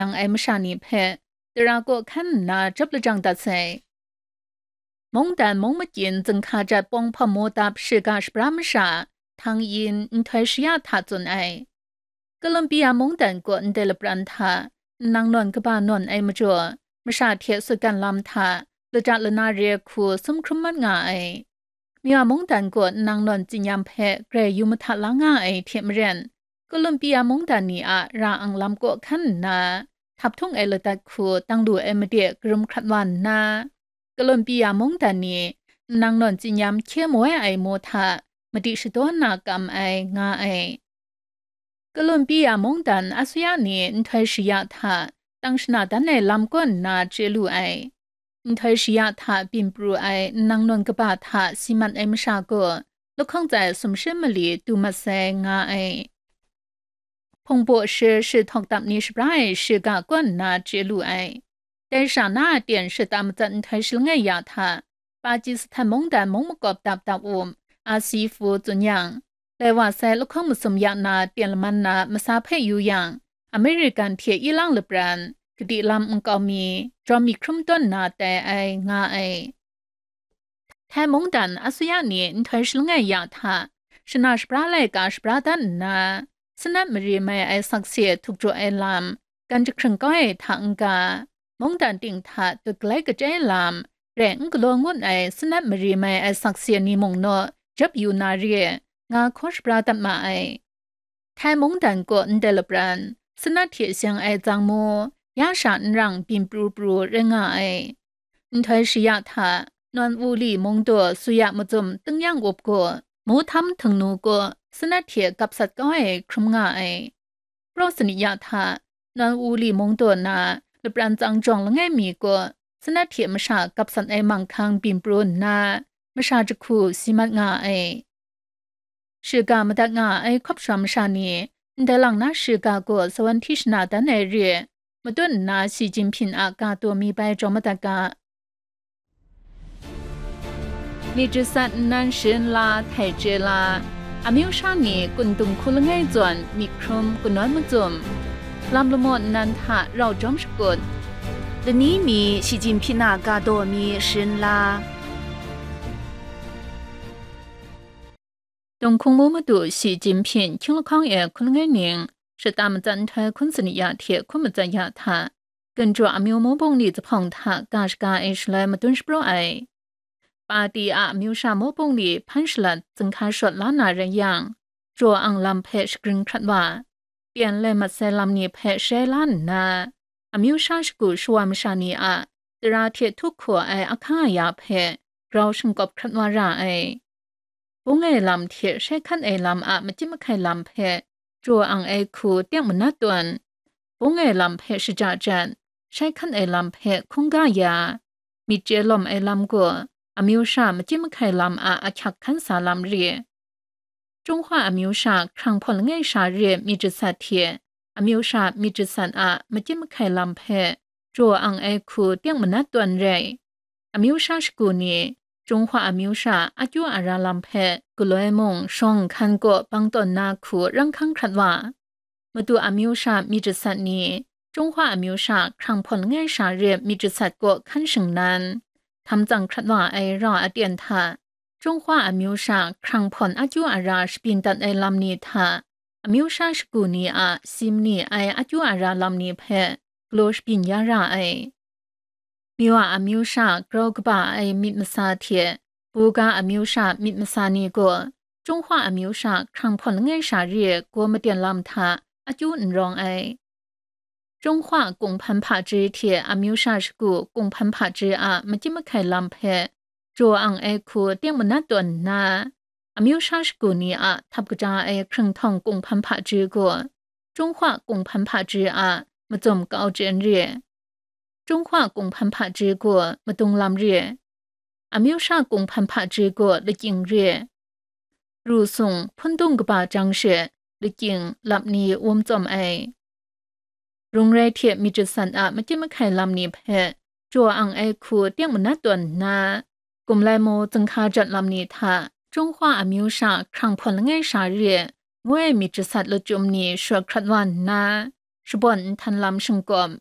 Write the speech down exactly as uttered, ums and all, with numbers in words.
yang ai masha ni hpe tara kaw hkan nna jawp lajang dat sai. Mungdan mung makyin zinghka jat pawng hpawm mu dap shiga shabra masha, Tang Yin nhtoi shaya hta tsun ai. Columbia mungdan kaw ndai lapran hta, nnang nawn kaba nawn ai majaw, masha hte sutgan lam hta, lata lana re hku sum hkrum mat nga ai. Myu a mungdan kaw nnang nawn tsinyam hpe grai yu mahta la nga ai hte maren, Columbia mungdan ni a ra ang lam kaw hkan nna, htaphtung e ladat hku dang lu ai made karum hkrat wa nna, Columbia mungdan ni nnang nawn tsinyam hkye moi ai mu hta madi shadaw na kam ai nga ai. Columbia mungdan asuya ni nhtoi shaya hta tang shana dan ai lam kaw nna chye lu ai. Nhtoi shaya hta byin pru ai nnang nawn kaba hta si mat ai masha gaw lahkawng tsai sumshi mali du mat sai nga ai. Hpungbaw shi shi htawk dap ni shabra ai shiga kaw nna chye lu ai. Dai sha na a ten shata matsat nhtoi shi langai ya hta, Pakistan mungdan mung makawp dap dap u, a si fu tsun yang, lai wa sai lahkawng masum ya na ten laman na masa hpe yu yang, American hte ilang lapran, kadi lam nkau mi, jawm mi hkrum tawn na tai ai nga ai. Thai mungdan asuya ni nhtoi shi langai ya hta, shana shabra laika shabra dan nna, sanat mari mai ai sakse htuk jaw ai lam, gan jahkring kau ai hta n-ga, mungdan ting hta dut galai kachyi lam, rai n galaw ngut ai sanat mari mai ai sakse ni mung naw jap yu na re, nga hkaw shabra dat ma ai. Thai mungdan kaw ndai lapran, sanat hte seng ai tsang mu, ya sha n rang byin pru pru rai nga ai. Nhtoi shaya hta, Nawn Wu Li mung daw suya mazum tung yang up gaw, mu htam htung nu gaw, sanat hte gap sat kau ai hkrum nga ai. Praw sanit ya hta, Nawn Wu Li mung daw na lapran tsang jawng langai mi gaw, sanat hte masha gap sat ai manghkang byin pru nna, masha jahku si mat nga ai. Shiga madat nga ai hkawp shawm masha ni, ndai lang na shiga gaw sawan hti shana dan ai re, matut nna Xi Jinping a ga taw mi bai jaw madat ga. มีจิตสัตว์นั้น shrin la, htai chye la, amyu sha ni kun dung hku langai zawn myit hkrum kanawn mazum, lam lamaw nnan hta rau jawm shakut, lani mi Xi Jinping a ga daw mi shrin la. Dong hkung mu madu Xi Jinping hkying lahkawng e hkun langai ning, shata matsat nhtoi hkun sanit ya hte hkun matsat ya hta, Gun jaw amyu mu bungli zuphpawng hta ga shaga ai shaloi madun shapraw ai. Pati a amyu sha mu bungli hpan shalat zinghka shawt la na rai yang, jaw ang lam hpe shagrin hkrat wa, pyen lai mat sai lam ni hpe shai la nna, amyu sha shagu shawa masha ni a tara hte htup hkaw ai ahkang aya hpe grau shingkawp hkrat wa ra ai. Bung ai lam hte shai hkan ai lam a machyim mahkai lam hpe jaw ang ai hku teng manat tawn, bung ai lam hpe shaja jat, shai hkan ai lam hpe hkungga ya, myit chye lawm ai lam gaw amyu sha machyim mahkai lam a ahkyak hkan sa lam re. Chyunghwa amyu sha hkrang hpawn langai sha re myit jasat hte amyu sha myit jasat a machyim mahkai lam hpe jaw ang ai hku teng manat tawn rai. Amyu sha shagu ni, Chyunghwa amyu sha akyu ara lam hpe galoi mung shawng nhkan kaw bang tawn na hku rang hkang hkrat wa. Madu amyu sha myit jasat ni, Chyunghwa amyu sha hkrang hpawn langai sha re myit jasat kaw hkan shingnan, htam tsang hkrat wa ai rau aten hta, Chyunghwa amyu sha hkrang hpawn akyu ara shabyin dat ai lam ni hta, amyu sha shagu ni a si mani ai akyu ara lam ni hpe galaw shabyin ya ra ai. Myu a amyu sha grau kaba ai myit masa hte, Buga amyu sha myit masa ni gaw, Chyunghwa amyu sha hkrang hpawn langai sha re gaw maten lam hta akyu n rawng ai. Chyunghwa kunghpan hpaji hte amyu sha shagu kunghpan hpaji a machyim mahkai lam hpe jaw ang ai hku teng manat tawn nna, amyu sha shagu ni a htap kaja ai hkringhtawng kunghpan hpaji gaw, Chyunghwa kunghpan hpaji a mazum kau chyen re. Chyunghwa kunghpan hpaji gaw madung lam re. Amyu sha kunghpan hpaji gaw lakying re. Ru sung hpundung kaba jang she lakying lap ni wum tsawm ai. Rung rai hte myit jasat a machyim mahkai lam ni hpe jaw ang ai hku teng manat tawn nna, Kumlai mu zinghka jat lam ni hta, Chyunghwa amyu sha hkrang hpawn langai sha re, ngu ai myit jasat lachyum ni shawt hkrat wa nna, shabawn nhtan lam shingkum,